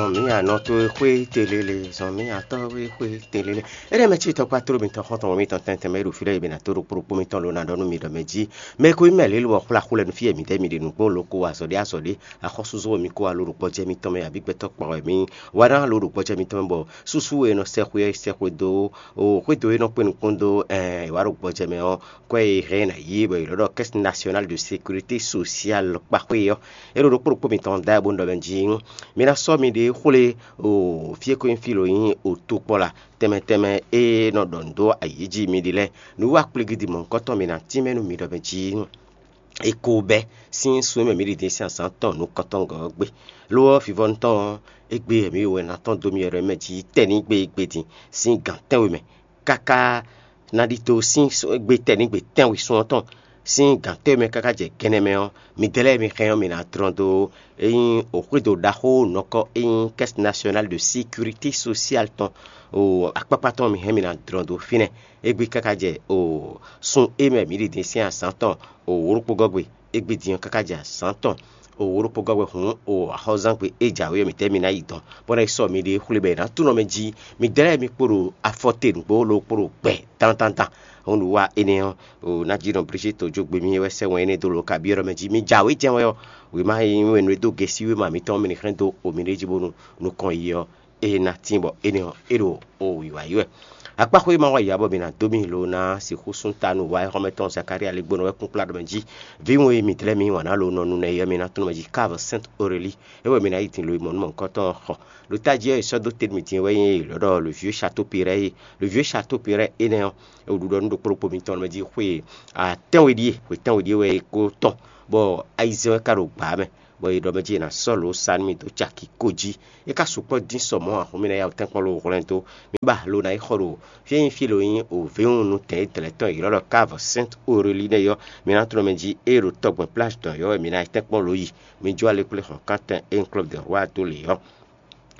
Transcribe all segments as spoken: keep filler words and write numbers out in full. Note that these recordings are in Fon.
Zɔn mǐ anɔ towe xwé telele, zɔn mǐ atɔ́ we xwé telele. Éɖɛ́ mɛ cí tɔkpá tló mitɔn xɔ́ntɔn wɛ mitɔn tɛntɛn mɛ e ɖo fí lɛ́ɛ e bǐ ná tó ɖo kpóɖokpó mitɔn ló ná ɖɔ nú mi ɖɔ mɛ jí. Mɛ e ko nyí mɛ lě lobɔ xwlá xwlɛ́ nú fí e mǐdɛɛ mi ɖe nǔgbó lǒ ko wa azɔ̌ ɖé azɔ̌ ɖé, axɔ́súzɔ́ wɛ mi ko wa lǒ ɖo gbɔjɛ́ mitɔn mɛ, abǐ gbɛtɔ́ kpɔ́n wɛ mi wa ná lǒ ɖo gbɔjɛ́ mitɔn mɛ, bɔ súsú e è nɔ sɛ xwé ɔ́ yi sɛ xwedó o xwédo e nɔ kpé nukún dó ɛn è wǎ ɖo gbɔjɛ́ mɛ ɔ́, kwɛ́ e hɛn ná yí bɔ è nɔ ɖɔ Caisse Nationale de Sécurité Sociale kpaxwé ɔ́, é ɖo ɖokpó ɖokpó mitɔn da bó nɔ ɖɔ mɛ jí. Mi ná sɔ́ miɖée xwlé o fí e ko nyí fí lo nyí o tokpɔ́la tɛnmɛ tɛnmɛ e nɔ ɖɔ nǔ dó ayǐ jí mi ɖi lɛ́ɛ. Nǔwiwa kplígídi mɔ̌hunkɔtɔn mi ná tínmɛ nú mi ɖɔ mɛ jí. È ko bɛ́ sín sun e mɛ mǐ ɖi din sín azǎn tɔn nukɔntɔngɔ́ ɔ́ gbe. Lo ɔ́, vivɔnu tɔn ɔ́, égbé wɛ mǐ wɛ ná tɔ́n dó mì wɛ ɖɔ mɛ jí tɛ́ ní gbe égbé din sín gǎn tɛ́nwe mɛ káká ná ɖidó sín gbe tɛ́ ní gbe tɛ́nwe sun ɔ́ tɔn sín gǎn tɛ́nwe mɛ káká jɛ gɛnɛ mɛ ɔ́, midɛɛ lɛ́ɛ mi hɛn ɔ́, mi ná dlɔ́n dó é nyí òxwédo ɖaxó nɔkɔ e nyí Caisse Nationale de Sécurité Sociale tɔn o akpákpá tɔn mi hɛn mi ná dlɔ́n dó fínɛ́. Égbé káká jɛ o sun e mɛ mǐ ɖi din sín azǎn tɔn o wǒ ɖokpó gɔ́ gbe, égbé din ɔ́ káká jɛ azǎn tɔn o wǒ ɖokpó gɔ́ gbe hǔn o axɔ́zán gbe e jǎwe ɔ́ mǐtɛ́ mi ná yi dɔn, bó ná yi sɔ́ miɖée xwlé bɔ è nǎ tunɔ mɛ jí. Midɛɛ lɛ́ɛ mi kpo ɖo afɔ te nǔgbó lókpó ɖo gbɛ dandandan. Hǔn nǔ wa énɛ́ ɔ́, o ná jí nɔ Brigitte jó gbe mì wɛ sɛ́ wɛn énɛ́ dó lǒ kabyɔ́ mɛ jí. Mi jǎwe jɛ́n wɛ ɔ́, wěma e nyí wɛn nú e dó gěsíwéma mǐtɔn mɛ ní hɛn dó o mi ɖé jí bónú nukɔn yi ɔ́, é ná tín bɔ énɛ́ ɔ́, é ɖo o wǐwá yi wɛ. Akpáxwé ma wa yǎ bɔ mǐ ná dó mì lo ná sixú sún ta nú wa e xɔ́mɛ tɔn Zakária lɛ́ɛ gbónɔ wɛ kún kplá ɖɔ mɛ jí. Vǐ ŋu e mǐ dlɛ́ mǐ wǎn ná lo nɔ nu nɛ yɛ mǐ ná tlɔ́n mɛ jí Cave Sainte Aurélie, é wɛ mǐ ná yi din lo yi mɔ nú mɔ̌hunkɔtɔn xɔ. Ɖo tají ɔ́, è sɔ́ dó te nú mì din wɛ nyí lɔ̌ɖɔ le vieux château Péret. Le vieux château Péret énɛ́ ɔ́, è ɖu ɖɔ nú ɖokpó ɖokpó mitɔn mɛ jí xwe atɛ́nwe ɖíe, xwe tɛ́nwe ɖíe wɛ é kó tɔn, bɔ ayizɛ́n wɛ ka ɖo gbǎ mɛ, bɔ è ɖɔ mɛ jí è nǎ sɔ́ lǒ sa nú mì dó caki kó jí. É ka sukpɔ́ dín sɔ mɔ̌ ǎ, xó mì ná yá wǔ tɛ́nkpɔ́n ló hwlɛ́n dó. Mi ba lo ná yi xɔ ɖo fí e nyí fí lo nyí òvéwúnu tɛn e dlɛ̌ tɔn è ylɔ́ ɖɔ Cave Sainte Aurélie nɛ́ ɔ́, mi ná tlɔ́n mɛ jí é ɖo tɔgbɛn plage dɔn yɔ́ wɛ mi ná yi tɛ́nkpɔ́n lǒ yi. Mi jó alekplé xɔ̌nkántɛn e nyí Club des Rois dó lě ɔ́,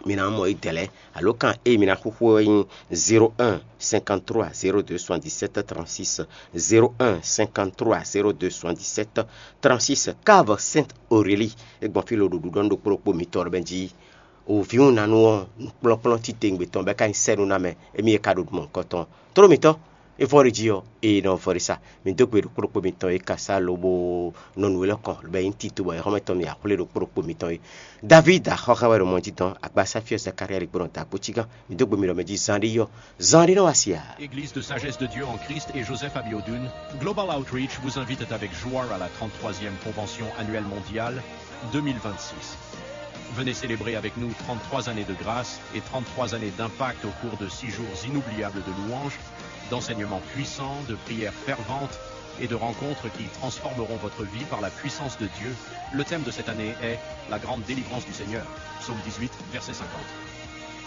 mi ná mɔ yi dɛ̌ lɛ́ɛ. Alǒkan e mi ná xúxú ɔ́ nyí zéro un cinquante trois zéro deux soixante-dix-sept trente-six, zéro un cinquante trois zéro deux soixante-dix-sept trente-six. Cave Sainte Aurélie, é gbɔn fí lo ɖo ɖuɖɔ nú ɖokpó ɖokpó mitɔn ɖɔ mɛ jí. O vǐwunanu ɔ́, nukplɔ́nkplɔ́n titewungbe tɔn bɔ é ka nyí sɛ́nú ná mɛ, émí e ka ɖo mɔ̌hunkɔtɔn. Tlóló mǐtɔn, é vɔ ɖe jí ɔ́, eye nɔ vɔ ɖe sa. Mi dó gbe ɖokpó ɖokpó mitɔn e ka sá lobo nɔ nǔ élɔ́ kɔn, bɔ é nyí tito bɔ é xɔ́mɛ tɔn mi axwlé ɖokpó ɖokpó mitɔn é. David axɔ́xá wɛ ɖo mɔ jí dɔn, agbasá fyɔ́ Zakária ɖi gbɔn dǎkpó cígán. Mi dó gbe mi ɖɔ mɛ jí zán ɖé yɔ, zán ɖé nɔ wá si ǎ. Église de Sagesse de Dieu en Christ et Joseph Abiodun, Global Outreach vous invite avec joie à la trente-troisième convention annuelle mondiale deux mille vingt-six. Venez célébrer avec nous trente-trois années de grâce et trente-trois années d'impact au cours de six jours inoubliables de louanges, d'enseignements puissants, de prières ferventes et de rencontres qui transformeront votre vie par la puissance de Dieu. Le thème de cette année est la grande délivrance du Seigneur. Psaume dix-huit, verset cinquante.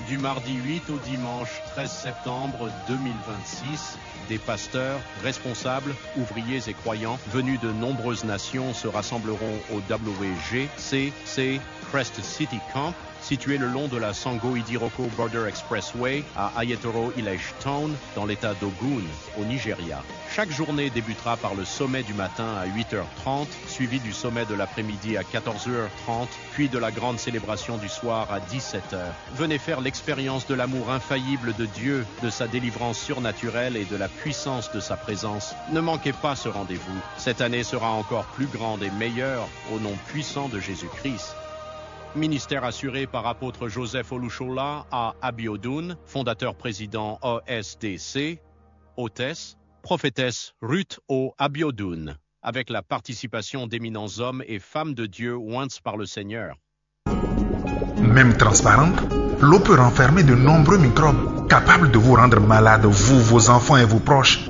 Du mardi huit au dimanche treize septembre deux mille vingt-six, des pasteurs, responsables, ouvriers et croyants venus de nombreuses nations se rassembleront au W G C C Crest City Camp, situé le long de la Sango Idiroko Border Expressway à Ayetoro Village Town, dans l'état d'Ogun, au Nigeria. Chaque journée débutera par le sommet du matin à huit heures trente, suivi du sommet de l'après-midi à quatorze heures trente, puis de la grande célébration du soir à dix-sept heures. Venez faire l'expérience de l'amour infaillible de Dieu, de sa délivrance surnaturelle et de la puissance de sa présence. Ne manquez pas ce rendez-vous. Cette année sera encore plus grande et meilleure au nom puissant de Jésus-Christ. Ministère assuré par apôtre Joseph Olushola à Abiodun, fondateur président O S D C, hôtesse, prophétesse Ruth O Abiodun, avec la participation d'éminents hommes et femmes de Dieu oints par le Seigneur. Même transparente, l'eau peut renfermer de nombreux microbes capables de vous rendre malade, vous, vos enfants et vos proches.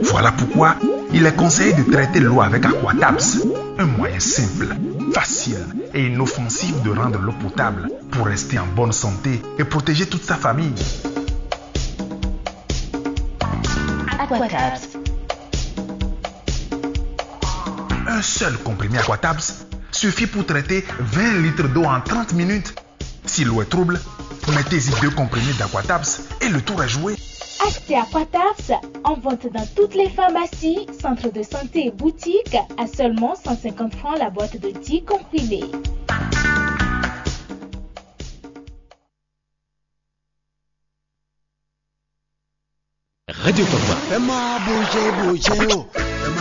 Voilà pourquoi il est conseillé de traiter l'eau avec Aquatabs, un moyen simple, facile et inoffensif de rendre l'eau potable pour rester en bonne santé et protéger toute sa famille. Aquatabs. Un seul comprimé Aquatabs suffit pour traiter vingt litres d'eau en trente minutes. Si l'eau est trouble, mettez-y deux comprimés d'Aquatabs et le tour est joué. Achetez Aquatabs en vente dans toutes les pharmacies, centres de santé et boutiques à seulement cent cinquante francs la boîte de dix comprimés. Radio Tɔgba. Ẹ máa bó jẹ́ bó jẹ́ o.